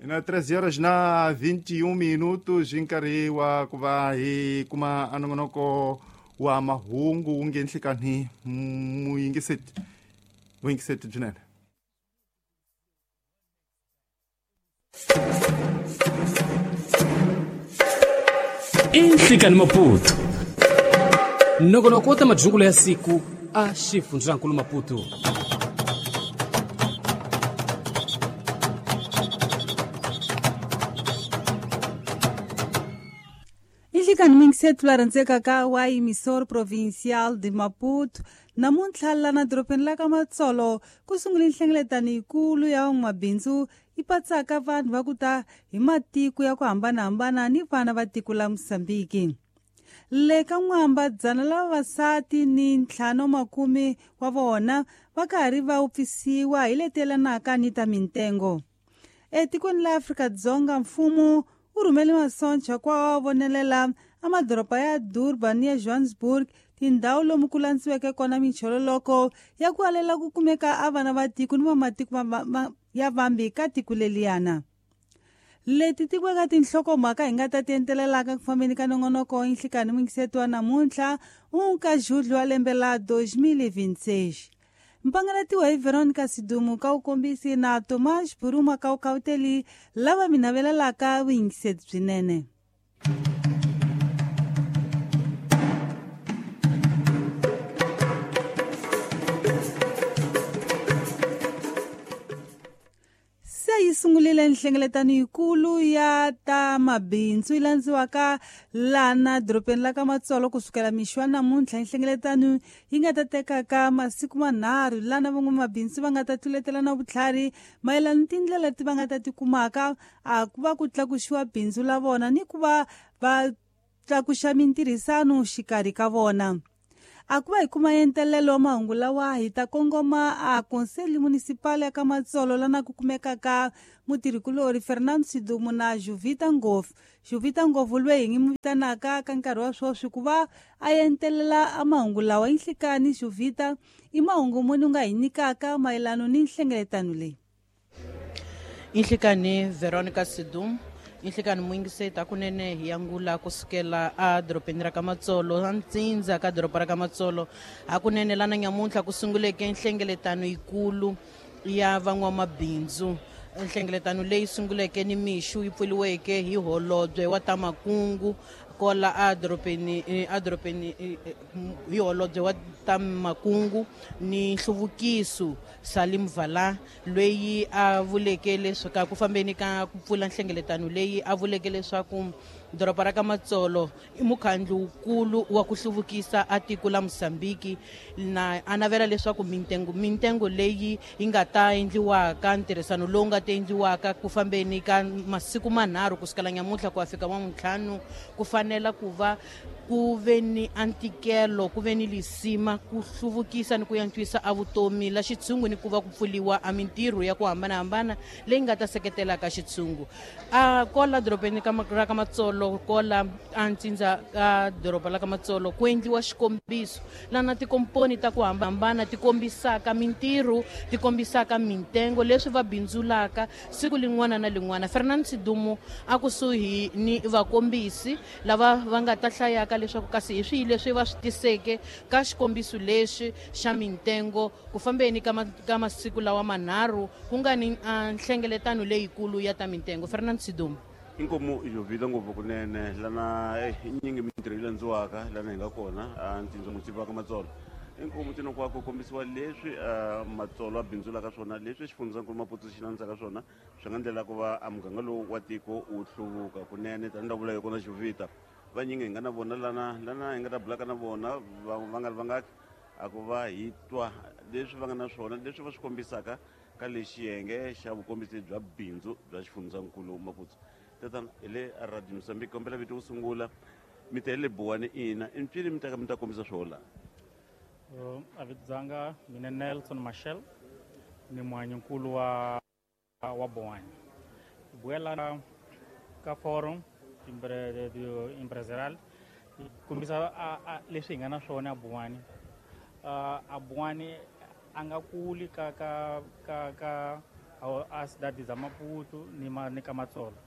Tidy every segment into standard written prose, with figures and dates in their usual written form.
Ina 13 horas na 21 minutos hi nkarhi wa ku va hi kuma anongonoko wa mahungu wu nge nhlikani muyingiseti vuyingiseti byinene. I Nhlikani Maputo, nongonoko wa ta majungulo ya siku a xifundzankulu Maputo. Inhlikani mingisetu la rhandzekaka wa Emissor Provincial de Maputo, namuntlha lana dorobeni la ka Matsolo ku sungule nhlengeletano yikulu ya van'wamabindzu yi patsaka vanhu va ku ta hi matiko ya ku hambanahambana ni vana va tiko la Mosambiki. Le ka n'wamba dzana la vavasati ni ntlhanu makume wa vona va karhi va wupfisiwa hi leti yelanaka ni ta mintengo. Etikweni la Afrika-Dzonga mfumo wu rhumele masoncha ku wa vonelela amadoroba ya Durban ni ya Johannesburg, tindhawu lomu ku landziweke kona minchololoko ya ku alela ku kumeka a vana va tiko ni vamatiko ya vambi ka tiko leliyana. Leti tikiweka tinhlokomhaka hi nga ta ti entelelaka ku fambeni ka nongonoko inhlikani mingiseto wa namuntlha ka Julho wa lembe la 2026. Mpangalatiwa hi Veronica Sidumu ka wukombisi na Tomas Buruma ka wukauteli lava mi navelelaka vuyingiseti byinene. Se yi sungurile nhlengeletano yikulu ya ta mabindzu yi landziwaka lana dorobeni la ka Matsolo kusukela mixo wa namuntlha. Nhlengeletano yi nga ta tekaka masiku manharhu lana van'wamabindzu va nga ta tluletelana vutlhari mayelana ni tindlela leti va nga ta ti kumaka a ku va ku tlakuxiwa bindzu la vona ni ku va va tlakuxa mintirhisano xikarhi ka vona. A ku va hi kuma entelelo wa mahungu lawa hi ta kongoma a Conselho Municipal ya ka Matsolo lana ku kumekaka mutirhikulori Fernando Sidumu na Juvita Ngofu. Juvita Ngofu loyi hi ngi mu vitanaka ka nkarhi wa sweswi ku va a entelela a mahungu lawa. Inhlikani Juvita, i mahungu muni u nga hi nyikaka mayelano ni nhlengeletano leyi? Inhlikani Veronica Sidum, inhlikani muyingiseti, hakunene hi angula kusukela a dorobeni ra ka Matsolo, a ntsindza ka doroba ra ka Matsolo. Hakunene lana nyamuntlha ku sunguleke nhlengeletano yikulu ya van'wamabindzu, nhlengeletano leyi sunguleke ni mixo yi pfuriweke hi holobye wa ta makungu kola a dorobeni, a dorobeni hi holobye wa ta makungu ni nhluvukiso Salim Vala, loyi a vuleke leswaku ku fambeni ka ku pfula nhlengeletano leyi a vuleke leswaku doroba ra ka Matsolo i mukhandlu wukulu wa ku hluvukisa a tiko la Mosambiki, na a navela leswaku mintengo leyi yi nga ta endliwaka, ntirhisano lowu nga ta endliwaka ku fambeni ka masiku manharhu kusukela nyamuntlha ku ya fika wamuntlhanu, ku fanela ku va ku ve ni antikelo, ku ve ni lisima ku hluvukisa ni ku antswisa a vutomi la xitshungu ni ku va ku pfuriwa a mintirho ya ku hambanahambana leyi nga ta seketelaka xitshungu. A kola dorobeni ra ka Matsolo, kola a ntsindza ka doroba la ka Matsolo, ku endliwa xikombiso lana tikomponi ta ku hambana ti kombisaka mintirho, ti kombisaka mintengo leswi va bindzulaka siku lin'wana na lin'wana. Fernando Sidumu a kusuhi ni vakombisi lava va nga ta hlayaka leswaku kasi hi swihi leswi va swi tiseke ka xikombiso lexi xa mintengo ku fambeni ka masiku lawa manharhu ku nga ni nhlengeletano leyikulu ya ta mintengo. Fernando Sidumu. Inkomu Jovita ngopfu kunene lana nyingi mintirho yi landziwaka lana hi nga kona a ntsindza mutsivi wa ka Matsolo. Inkomu tino kwa ku kombisiwa leswi Matsolo a bindzulaka swona, leswi xifundzankulu Maputo xi landzaka swona, swi nga ndlela ku va a muganga lowu wa tiko wu hluvuka kunene. Tanihi la vula hi kona Jovita, vanyingi hi nga na vona lana, lana hi nga ta bulaka na vona va nga ri vangaki a ku va hi twa leswi va nga na swona, leswi va swi kombisaka ka lexi xiyenge xa vukombisi bya bindzu bya xifundzankulu Maputo. Tatana hi le Radio Mozambique, kombela vito ku sungula, mi ta le Buwani ina i mpfini mi ta ka mi ta kombisa swona la? A vito dzanga mina Nelson Machel, ni muhanyinkulu wa Buwani. Buela ka forum empresarial kombisa leswi hi nga na swona a Buwani. A Buwani a nga kuli ka ka ka ka A cidade za Maputo ni ni ka Matsolo.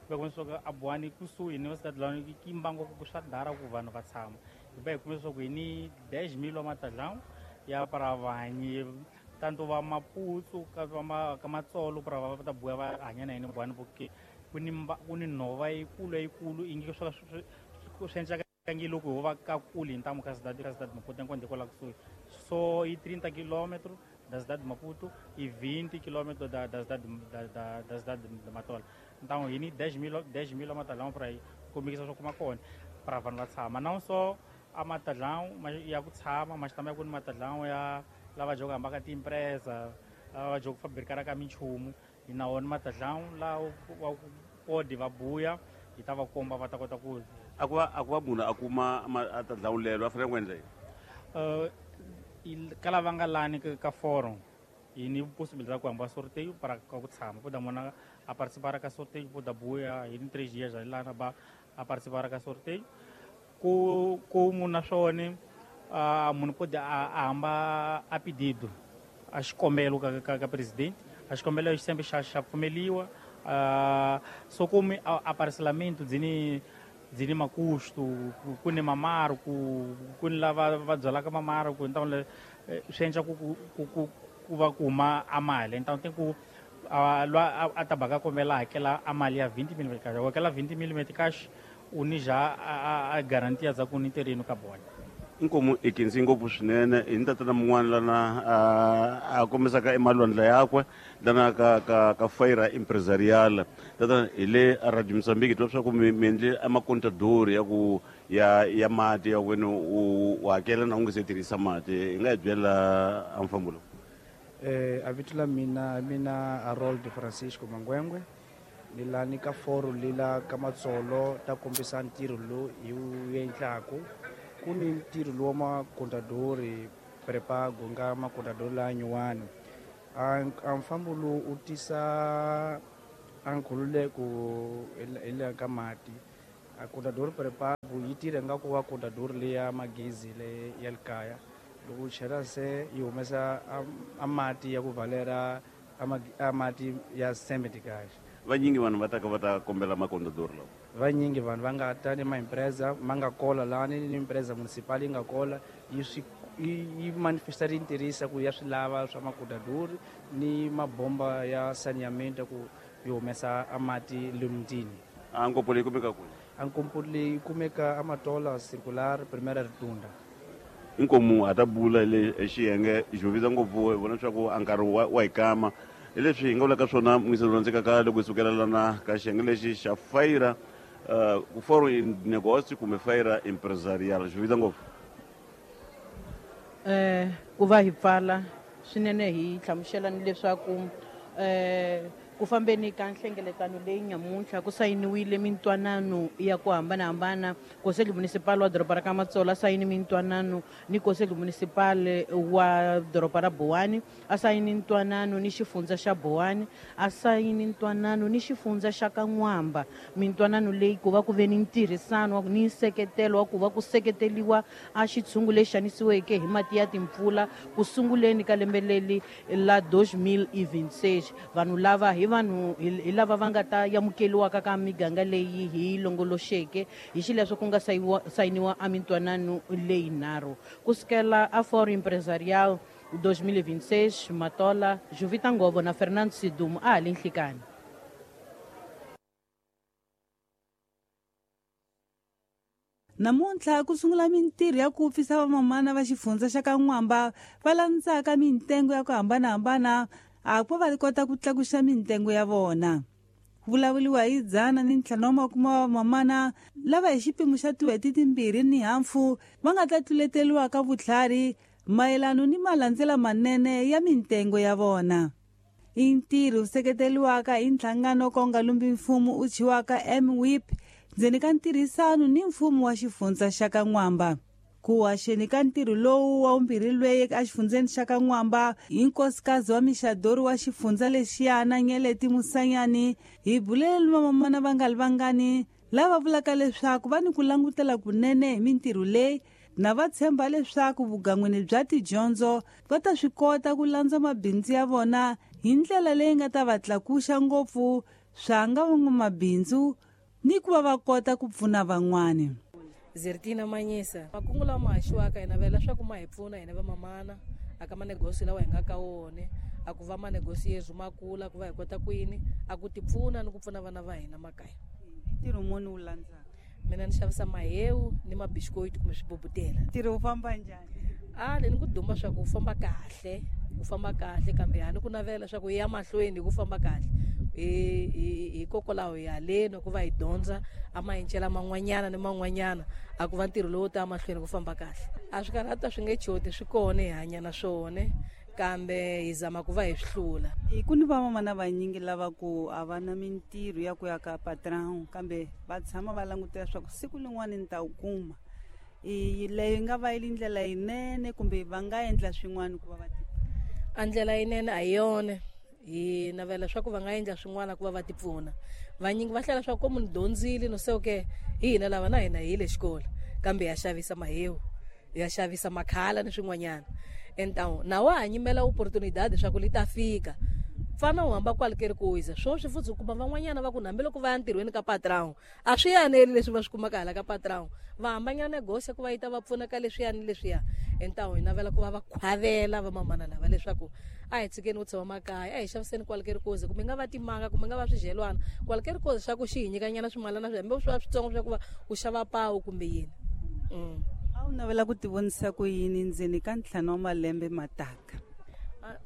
Va kuma leswaku a Buwani kusuhi ni cidade la ki mbango ku swa dara ku vanhu va tshama. Hi va hi kume leswaku hi ni 10 mil wa matadlão ya para vanyi tanto va Maputo ka va ka Matsolo para va ta buya va hanya na yini Buwani porque ku ni nhova yikulu ingi swa swi endlaka ngi loko ho va ka kule hi ntamu ka cidade Maputo enquanto kwala kusuhi. So i 30 km da cidade de Maputo e 20 km da cidade de Matola. Então, hi ni 10 mil matadlão para aí, comigo só kuma kona para vanhu va tshama. Não só a matadlão mas ya ku tshama, mas também ku ni matadlão ya lava jogo hamba ka tiempresa, lava jogo fabricar ka minchumu, hi na wona matadlão la wa pode va buya, hi ta va komba va ta kota ku a ku va munhu a kuma a tadlão lero a fanele ku endla yini? Ka lava nga lani ka forum hi ni possibilidade ku hamba sorteio para ka ku tshama poda mona a participar ka sorteio poda buya hi ni 3 dias lana ba a participar ka sorteio ku munhu na swona munhu pode a hamba a pedido a xikombelo ka presidente a xikombelo xi sempre xa pfumeliwa so como a parcelamento dzini makusto ku ni mamaro ku ni lava va byalaka mamaro ku então swi endla ku va ku huma a mali. Então tem ku a tabaka kombela hakela a mali ya 20 mil cash hakela 20 mil cash u ni ja a garantia za ku ni terreno ka bona. Inkomu i khensi ngopfu swinene hi ni tatana mun'wana lana a kombisaka emalwandla yakwe lana ka Feira Empresarial. Tatana hi le a Radio Mozambique twa swa ku mi endle a makontadori ya ku ya mati ya wena u hakela na u nga se tirhisa mati, hi nga hi byela a mfambo lowu? A vito la mina Harold Francisco Mangwengwe ni lani ka foro lila ka Matsolo ta kombisa ntirho lowu hi wu endlaku. Ku ni ntirho lowu wa makontadori prepago nga makontadori la nyuwani a mfambo lowu u tisa a nkhululeko hi le ka mati. A kontadori prepago yi tirha nga ku va kontadori leya magezi le ya le kaya, loko u chela se yi humesa a mati ya ku valera a mati ya 70 kahle. Vanyingi vanhu va taka va ta kombela makontadori lawa, vanyingi vanhu va nga ta ni maempresa ma nga kola lani ni empresa municipal yi nga kola yi manifesta ri tirhisa ku ya swi lava swa makontadori ni mabomba ya saneamento ku yi humesa a mati le mutini. A nkopo leyi kumeka kwihi? A nkopo leyi kumeka a Matola Circular Primeira Rotunda. Inkomu ha ta bula le xiyenge xo visa ngopfu hi vona leswaku a nkarhi wa hi kama hi leswi hi nga vulaka swona muyiselo landzekaka loko hi sukela lana ka xiyenge lexi xa Feira Foro Negócio kumbe Feira Empresarial. Xo visa ngopfu ku va hi pfala swinene hi hlamusela ni leswaku ku fambeni ka nhlengeletano leyi nyamuntlha ku sayiniwile mintwanano ya ku hambanahambana. Conselho Municipal wa doroba ra ka Matsolo a sayini mintwanano ni Conselho Municipal wa doroba ra Buwani, a sayini ntwanano ni xifundza xa Buwani, a sayini ntwanano ni xifundza xa Kan'wamba. Mintwanano leyi ku va ku ve ni ntirhisano ni nseketelo wa ku va ku seketeliwa a xitshungu lexi xanisiweke hi mati ya timpfula ku sunguleni ka lembe leri la 2026. Vanhu lava hi vanhu hi lava va nga ta amukeliwaka ka miganga leyi hi longoloxeke hi xileswo ku nga sayiniwa a mintwanano leyi nharhu. Kusukela a Foro Empresarial 2026, Matola, Juvita Ngovo na Fernando Sidumo a ha le nhlikani. Namuntlha ku sungula mintirho ya ku pfisa vamamana va xifundza xa Kan'wamba va landzaka mintengo ya ku hambanahambana a ku va kota ku tlakuxa mintengo ya vona. Ku vulavuriwa hi 150 wa vamamana lava hi xipimo xa tin'hweti timbirhi ni hafu va nga ta tluleteliwa ka vutlhari mayelano ni malandzela manene ya mintengo ya vona. I ntirho wu seketeriwaka hi nhlangano ka wu nga lumbi mfumo u thyiwaka MWIP ndzeni ka ntirhisano ni mfumo wa xifundza xa Kan'wamba. Ku haxeni ka ntirho lowu wa vumbirhi lweyi exifundzeni xa Kan'wamba hi nkosikazi wa mixadori wa xifundza lexiyana Nyeleti Musanyani hi bulele vamamana va nga li vangani lava vulaka leswaku va ni ku langutela kunene hi mintirho leyi Na va tshemba leswaku vugan'wini bya tidyondzo va ta swi kota ku landza mabindzu ya vona hi ndlela leyi nga ta va tlakuxa ngopfu swa nga van'wamabindzu ni ku va va kota ku pfuna van'wani. Zertina Manyisa, makungu lawa ma haxiwaka hi navela leswaku ma hi pfuna hina vamamana aka manegosi lawa hi nga ka wona, a ku va manegosi yezu ma kula ku va hi kota ku yini a ku ti pfuna ni ku pfuna vana va hina makaya. Ntirho muni wu landzaka? Mina ni xavisa mahewu ni mabisikoiti kumbe swibubutela. Ntirho wu famba njhani? A ni ku duma swa ku wu famba kahle, wu famba kahle kambe ha ni ku navela swa ku ya mahlweni hi ku famba kahle. Hikokwalaho hi haleni ku va hi dyondza a mayincela man'wanyana ni man'wanyana a ku va ntirho lowu ta mahlweni ku famba kahle. A swi karhata swi nge choti swi kona hi hanya na swona kambe hi zama ku va hi swi hlula. Hi ku ni vamamana vanyingi lava ku a va na mintirho ya ku ya ka patron kambe va tshama va langutela swa ku siku lin'wana ni ta wu kuma. Leyo yi nga va yi ri ndlela yinene kumbe va nga endla swin'wana ku va va ti a ndlela yinene a hi yona. Hi navela swa ku va nga endla swin'wana ku va va ti pfuna. Vanyingi va hlela swa ku munhu dyondzile no se okay hi hina lava na hina hi le xikolo kambe ya xavisa mahewu, ya xavisa makhala ni swin'wanyana. Então na wa ha nyimela opportunidade swa ku li ta fika. Pfana u hamba kwale ke ri ku wisa swoswi futhi u kuma van'wanyana va ku hambiloko va ya ntirhweni ka patron a swi yaneli leswi va swi kumaka hala ka patron, va hambanyana negosi ku va yi ta va pfuna ka leswiya ni leswiya. Então hi navela ku va va khwavela vamamana lava leswaku a hi tshikeni ku tshama makaya, a hi xaviseni kwale ke ri kozi, kumbe nga va timanga kumbe nga va swidyelwana kwale ke ri kozi swa ku xi hi nyikanyana swimalana swi hambi swi va switsongo swa ku va u xava pawu kumbe yini. A wu navela ku tivonisa ku yini ndzeni ka 5 wa malembe mataka?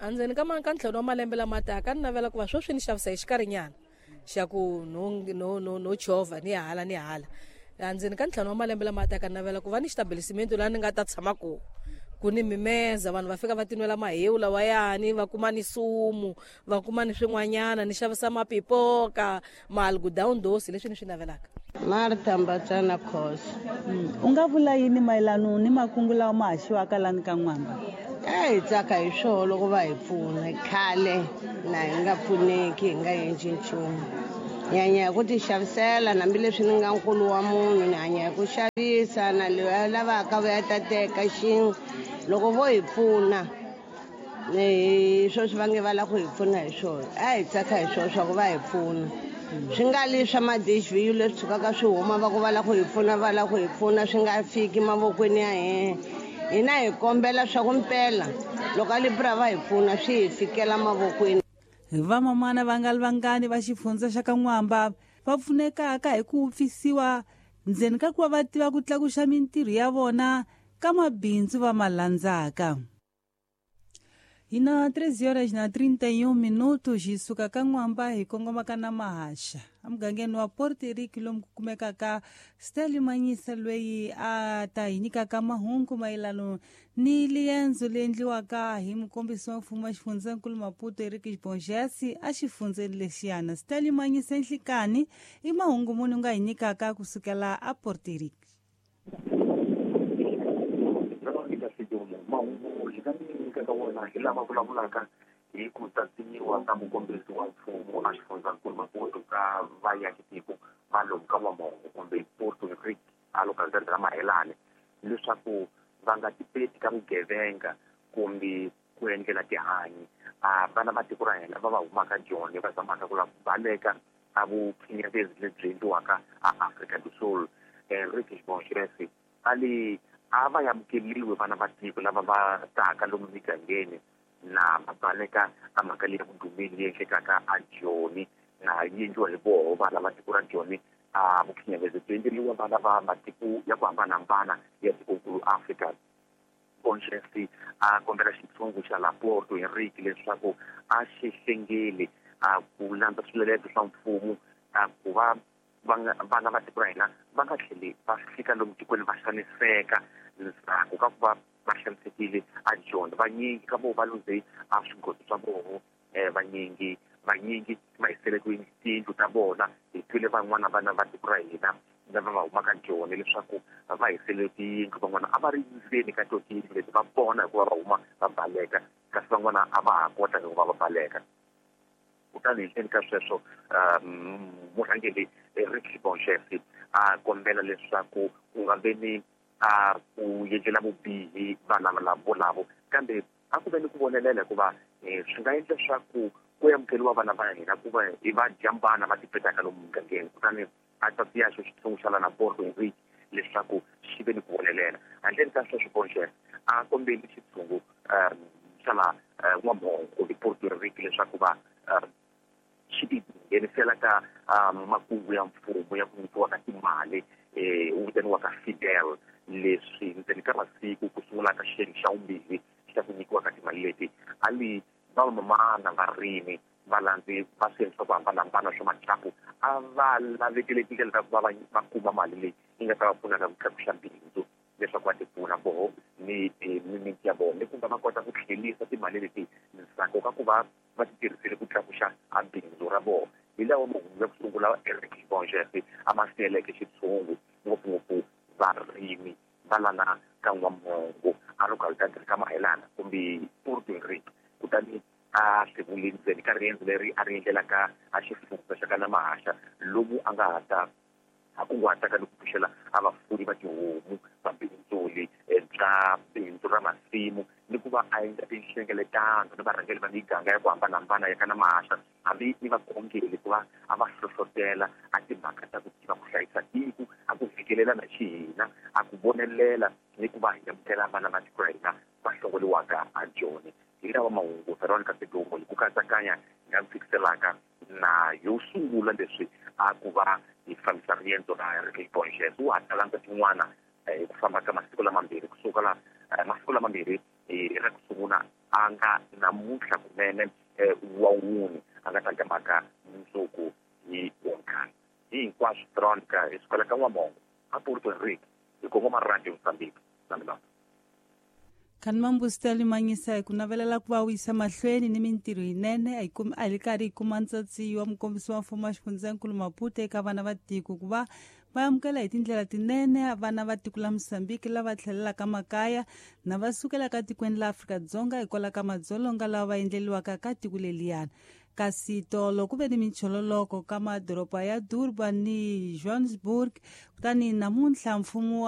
Endzeni ka ka 5 wa malembe lama taka ni navela ku va sweswi ni xavisa hi xikarhinyana xa ku no chovha ni hala ni hala. Endzeni ka 5 wa malembe lama taka ni navela ku va ni xitabelisiment laha ni nga ta tshama kona, ku ni mimeza vanhu va fika va tinwela mahewu lawayani, va kuma ni sumu, va kuma ni swin'wanyana, ni xavisa mapipoka, maalgudown dosi, leswi ni swi navelaka. Martha Mbatsana Khosi. U nga vula yini mayelana ni makungu lawa ma haxiwaka lani ka N'wamba? A hi tsaka hi swona loko va hi pfuna. Khale na hi nga pfuneki, hi nga endli nchumu. Hi hanya hi ku ti xavisela, hambileswi ni nga nkulu wa munhu, ni hanya hi ku xavisa na loyi a lavaka va ya ta teka xin'we. Loko vo hi pfuna, hi sweswi va nge va lava ku hi pfuna hi swona. A hi tsaka hi swona swa ku va hi pfuna. Swi nga li swa ma-DHVU leswi tshukaka swi huma va ku va lava ku hi pfuna, va lava ku hi pfuna, swi nga fiki mavokweni ya hina. Hina hi kombela swa ku mpela loko a Libra va hi pfuna swi hi fikela mavokweni. Vamamana va nga li vangani va xifundza xa ka N'wamba va pfunekaka hi ku pfisiwa ndzeni ka ku va va tiva ku tlakuxa mintirho ya vona ka mabindzu va ma landzaka. Hi na 3 horas na 31 minutos hi suka ka N'wamba hi kongoma ka na Mahaxa emugangeni wa Port Henrique lomu ku kumekaka Stanley Manyisa loyi a ta hi nyikaka mahungu mayelana ni liendzo leyi endliwaka hi mukombisi wa mfumo wa xifundzankulu Maputo Henrique Bongesi a xifundzeni lexiyana. Stanley Manyisa nhlikani i mahungu muni u nga hi nyikaka kusukela a Port Henrique? Hi lava vulavulaka hi ku tatinyiwa ka mukombisi wa mfumo a xifundzankulu Maputo ka vaakitiko va lomu ka N'wamongo kumbe Port Henrique a localidade ra Mahelane leswaku va nga tipeti ka vugevenga kumbe ku endlela tihanyi a vana va tiko ra hina va va humaka Joni va zamaka ku lava ku baleka a vuphinyavezi lebyi endliwaka a Afrika do Sul. Henrique Bongesi a li a va amukeliwe vana va tiko lava va taka lomu migangeni na va baleka a mhaka leyi ya vudumeli leyi endlekaka a Joni na yi endliwa hi voho vana va tiko ra Joni. A vukhinyavezi byi endleriwa vana va matiko ya ku hambanahambana ya tikonkulu Afrika. Bongesi a kombela xitshungu xa la Porto Henrique leswaku a xi hlengeli a ku landza swiletelo swa mfumo a ku va vana va tiko ra hina va nga tlheli va fika lomu tikweni va xaniseka ndzhaku ka ku va va xanisekile a Joni. Vanyingi ka voho va luze a swigodo swa voho, vanyingi va hisele tiyindlu ta vona. Hi twile van'wana vana va tiko ra hina lava va humaka Joni leswaku va hisele tiyindlu, van'wana a va ri ndzeni ka to tiyindlu leti va vona hikuva va huma va baleka, kasi van'wana a va ha kota hikuva va baleka. Kutani hi ndzeni ka sweswo murhangeri Henrique Bongesi a kombela leswaku ku nga ve ni a ku endlela vubihi vana volavo kambe a ku ve ni ku vonelela hikuva swi nga endla leswaku ku amukeriwa vana va hina ku va i va jambana va tipetaka lomu mugangeni kutani a tatiya xo xitsongo xa lana Porto Henrique leswaku xi ve ni ku vonelela handleni ka sweswo Bonje a kombeli xitshungu xa la N'wamhongo kumbe Porto Henrique leswaku va xi ti nghenisela ka makungu ya mfumo ya ku nyikiwa ka timali wu vitaniwaka Fidel leswi ndzeni ka masiku ku sungula ka xiyenge xa vumbirhi xa ku nyikiwa ka timali leti a li vamamana varimi valandzi va swiyenge swa ku hambanahambana swa matlaku a va lavekele tindlela ta ku va va kuma mali leyi yi nga ta va pfunaka ku tlakusa bindzu leswaku va tipfuna voho ni mimiti ya vona ni ku va va kota ku tlhelisa timali leti ndzhaku ka ku va va ti tirhisile ku tlakuxa a bindzu ra vona hi lawa mahungu ya ku sungula Eric Bonjese a ma siyeleke xitshungu ngopfungopfu varimi va lana ka N'wamhongo a localidade ka Mahelana kumbe Porto Henrique kutani a hlevule ndzeni ka riendzo leri a ri endlelaka a xifundza xa ka Namahaxa lomu a nga ha ta a kunguhataka ni ku pfuxela a vafuri va tihomu va bindzuli bya bindzu ra masimu ni ku va a endla tinhlengeletano ni varhangeri va miganga ya ku hambanahambana ya ka Namahaxa hambi ni vakhongeli ku va a va hlohlotela a timhaka ta ku tiva ku hlayisa tiko a ku fikelela na xihina a ku vonelela ni ku va hi amukela vana va tiko ra hina va hlongoliwaka a Joni hi lawa mahungu Veronica Sidumo hi ku katsakanya hi nga fikiselaka na yo sungula leswi a ku va hi fambisa riendzo ra Eric Bonjes wu ha talandza tin'wana hi ku famba ka masiku lamambirhi kusuka la masiku lamambirhi ra ku sungula a nga namuntlha kunene wa wuni a nga ta mhaka mundzuku hi wonkhana hi hinkwaswo Veronica hi sukela ka N'wamhongo a Porto Henrique hi kongoma Radio Mozambique na Khani mambusitali manyisa hi ku navelela ku va wisa mahlweni ni mintirho yinene a hi karhi hi kuma ntsatsi wa mukombisi wa mfumo wa xifundzankulu Maputo eka vana va tiko ku va va amukela hi tindlela tinene vana va tiko la Mozambique lava tlhelelaka makaya na va sukelaka tikweni la Afrika-Dzonga hikwalaho ka madzolonga lawa va endleliwaka ka tiko leliyana kasi tolo ku ve ni minchololoko ka madoroba ya Durban ni Johannesburg kutani namuntlha mfumo